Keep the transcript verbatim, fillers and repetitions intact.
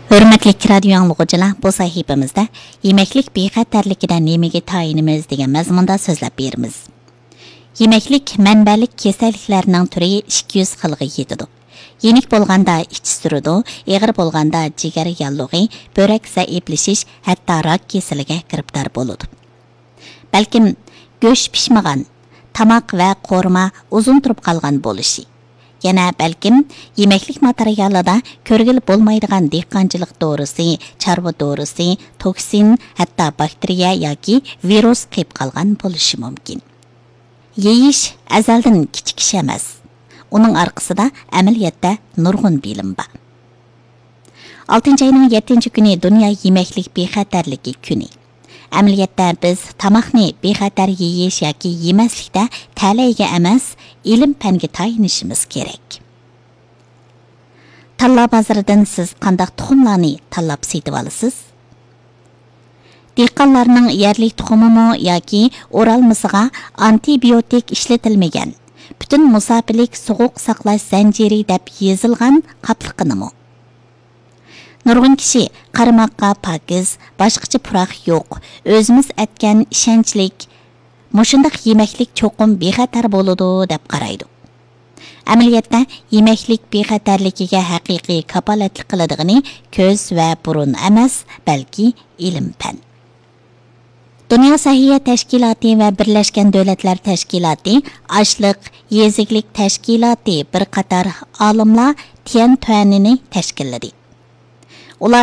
ھۆرمەتلىك رادىيو ئاڭلىغۇچىلار، بۇ سەھىپىمىزدە يېمەكلىك بىخەتەرلىكىدە نېمىگە تايىنىمىز دېگەن مەزمۇندا سۆزلەپ بېرىمىز. يېمەكلىك مەنبەلىك كېسەللىكلەرنىڭ تۈرى ئىككى يۈز خىلغا يېتىدۇ. يېنىك بولغاندا ئىچ سۈرىدۇ، ئېغىر بولغاندا جىگەر ياللۇغى، بۆرەك زەئىپلىشىش، ھەتتا راك كېسىلىگە گىرىپتار بولىدۇ. بەلكىم گۆش پىشمىغان، تاماق ۋە قورۇما ئۇزۇن تۇرۇپ قالغان بولۇشى. يەنە بەلكىم يېمەكلىك ماتېرىيالىدا كۆرگىلى بولمايدىغان دېھقانچىلىق دورىسى، چارۋا دورىسى، توكسىن، ھەتتا باكتېرىيە ياكى ۋىرۇس قېپىپ قالغان بولۇشى مۇمكىن. يېيىش ئەزەلدىن كىچىك ئىش ئەمەس. ئۇنىڭ ئارقىسىدا ئەمەلىيەتتە نۇرغۇن بىلىم بار. ئالتىنچى ئاينىڭ يەتتىنچى كۈنى دۇنيا يېمەكلىك بىخەتەرلىكى كۈنى. ئەمەلىيەتتە بىز تاماقنى بىخەتەر يېيىش ياكى يېمەسلىكتە تەلەيگە ئەمەس، ئىلىم-پەنگە تايىنىشىمىز كېرەك. تاللا بازىرىدىن سىز قانداق تۇخۇملارنى تاللاپ سېتىۋالىسىز؟ دېھقانلارنىڭ يەرلىك تۇخۇمىمۇ ياكى ئورالمىسىغا ئانتىبىيوتىك ئىشلىتىلمىگەن، پۈتۈن مۇساپىلىك سوغۇق ساقلاش زەنجىرى دەپ يېزىلغان قاپلىقىنىمۇ؟ نۇرغۇن كىشى قارىماققا پاكىز، باشقىچە پۇراق يوق، ئۆزىمىز ئەتكەن ئىشەنچلىك، مۇشۇنداق يېمەكلىك چوقۇم بىخەتەر بولىدۇ دەپ قارايدۇ. ئەمەلىيەتتە، يېمەكلىك بىخەتەرلىكىگە ھەقىقىي كاپالەتلىك قىلىدىغىنى كۆز ۋە بۇرۇن ئەمەس، بەلكى ئىلىم-پەن. دۇنيا سەھىيە تەشكىلاتى ۋە بىرلەشكەن دۆلەتلەر تەشكىلاتى ئاشلىق، يېزا ئىگىلىك تەشكىلاتى بىر قاتار ئالىملار تيەنتۈەننى تەشكىللىدى.